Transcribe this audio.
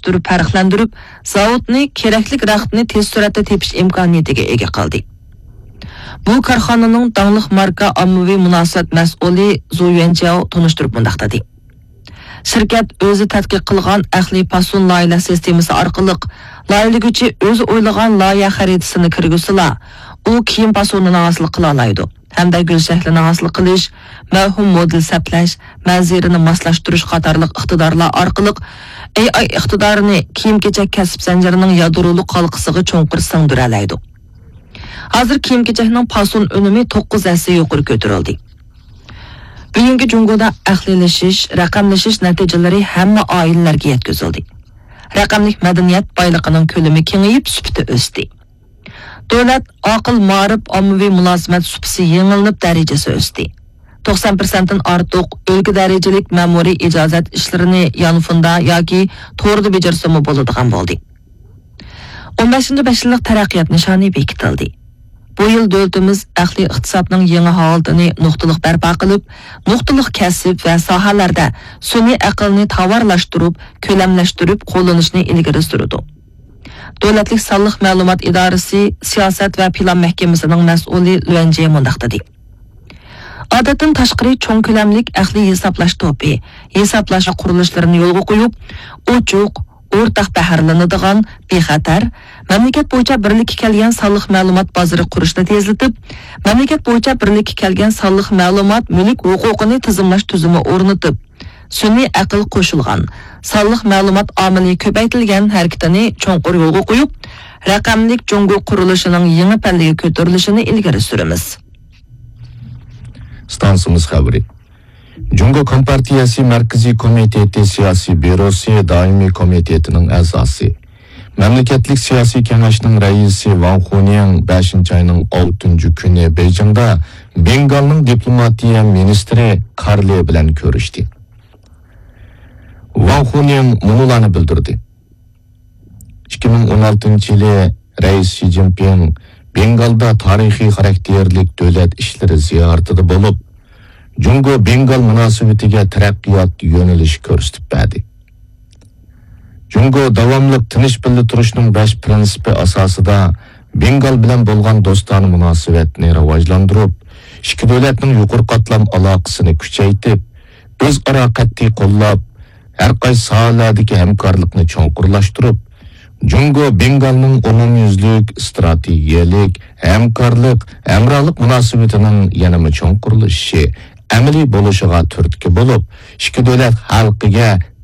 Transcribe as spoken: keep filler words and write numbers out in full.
پەرقلەندۈرۈپ، زاۋۇتنى كېرەكلىك رەختنى تېز سۈرئەتتە تېپىش ئىمكانىيىتىگە ئىگە قىلدى. بۇ كارخانىنىڭ داڭلىق ماركا ئاممىۋى مۇناسىۋەت مەسئۇلى زۇ يۈەنجياۋ تونۇشتۇرۇپ مۇنداق دېدى: شىركەت ئۆزى تەتقىق قىلغان ئەقلىي پاسون لايىھەلەش سىستېمىسى ئارقىلىق لايىھەلىگۈچى ئۆزى ئويلىغان لايىھە خەرىتىسىنى كىرگۈزسىلا، ئۇ كىيىم پاسونىنى ھاسىل قىلالايدۇ ھەمدە گۈل شەكلىنى ھاسىل قىلىش، مەۋھۇم مودېل سەپلەش، مەنزىرىنى ماسلاشتۇرۇش قاتارلىق ئىقتىدارلار ئارقىلىق ئېي ئاي ئىقتىدارىنى كىيىم-كېچەك كەسىپ زەنجىرىنىڭ يادرولۇق ھالقىسىغا چوڭقۇر سىڭدۈرەلەيدۇ. ھازىر كىيىم-كېچەكنىڭ پاسون ئۈنۈمى توققۇز ھەسسە يۇقىرى كۆتۈرۈلدى. بۈگۈنكى جۇڭگودا ئەقلىيلىشىش، رەقەملىشىش نەتىجىلىرى ھەممە ئائىلىلەرگە يەتكۈزۈلدى. رەقەملىك مەدەنىيەت بايلىقىنىڭ كۆلىمى كېڭىيىپ، سۈپىتى ئۆستى. دۆلەت ئاقىل مائارىپ ئاممىۋى مۇلازىمەت سۇپىسى يېڭىلىنىپ، دەرىجىسى ئۆستى. توقسان پىرسەنتتىن ئارتۇق ئۆلكە دەرىجىلىك مەمۇرىي ئىجازەت ئىشلىرىنى يانفوندا ياكى توردا بېجىرسىمۇ بولىدىغان بولدى. ئون بەشىنچى بەش يىللىق تەرەققىيات نىشانى بېكىتىلدى. بۇ يىل دۆلىتىمىز ئەقلىي ئىقتىسادنىڭ يېڭى ھالىتىنى نۇقتىلىق بەرپا قىلىپ، نۇقتىلىق كەسىپ ۋە ساھەلەردە سۈنئىي ئەقىلنى تاۋارلاشتۇرۇپ، كۆلەملەشتۈرۈپ قوللىنىشنى ئىلگىرى سۈرىدۇ. دۆلەتلىك سانلىق مەلۇمات ئىدارىسى سىياسەت ۋە پىلان مەھكىمىسىنىڭ مەسئۇلى لۈەنجيې مۇنداق دېدى: ئادەتتىن تاشقىرى چوڭ كۆلەملىك ئەقلىي ھېسابلاش توپى، ھېسابلاش قۇرۇلۇشلىرىنى يولغا قويۇپ، ئوچۇق، ئورتاق بەھرىلىنىدىغان، بىخەتەر، مەملىكەت بويىچە بىرلىككە كەلگەن سانلىق مەلۇمات بازىرى قۇرۇشنى تېزلىتىپ، مەملىكەت بويىچە بىرلىككە كەلگەن سانلىق مەلۇمات مۈلۈك ھوقۇقىنى تىزىملاش تۈزۈمى ئورنىتىپ، سۈنئىي ئەقىل قوشۇلغان، سانلىق مەلۇمات ئامىلى كۆپەيتىلگەن ھەرىكىتىنى چوڭقۇر يولغا قويۇپ، رەقەملىك جۇڭگو قۇرۇلۇشىنىڭ يېڭى پەللىگە كۆتۈرۈلۈشىنى ئىلگىرى سۈرىمىز. ئىستانسىمىز خەۋىرى. جۇڭگو كومپارتىيەسى مەركىزىي كومىتېتى سىياسىي بيۇروسى دائىمىي كومىتېتىنىڭ ئەزاسى، مەملىكەتلىك سىياسىي كېڭەشنىڭ رەئىسى ۋاڭ خۇنيىڭ بەشىنچى ئاينىڭ ئالتىنچى كۈنى بېيجىڭدا بېنگالنىڭ دىپلوماتىيە مىنىستىرى كارلې بىلەن كۆرۈشتى. ۋاڭ خۇنيىڭ مۇنۇلارنى بىلدۈردى. ئىككى مىڭ ئون ئالتىنچى يىلى رەئىس شى جىنپىڭ بېنگالدا تارىخىي خاراكتېرلىك دۆلەت ئىشلىرى زىيارىتىدە بولۇپ، جۇڭگو بېنگال مۇناسىۋىتىگە تەرەققىيات يۆنىلىشى كۆرسىتىپ بەردى. جۇڭگو داۋاملىق تىنچ بىللە تۇرۇشنىڭ بەش پىرىنسىپى ئاساسىدا بېنگال بىلەن بولغان دوستانە مۇناسىۋەتنى راۋاجلاندۇرۇپ، ئىككى دۆلەتنىڭ يۇقىرى قاتلام ئالاقىسىنى كۈچەيتىپ، ئۆزئارا قەتئىي قوللاپ، ھەر قايسى ساھەلەردىكى ھەمكارلىقنى چوڭقۇرلاشتۇرۇپ، جۇڭگو بېنگالنىڭ ئومۇميۈزلۈك ئىستراتېگىيەلىك ھەمكارلىق، ھەمراھلىق مۇناسىۋىتىنىڭ يەنىمۇ چوڭقۇرلىشىشى، ئەمەلىي بولۇشىغا تۈرتكە بولۇپ، ئىككى دۆلەت خەلقىگە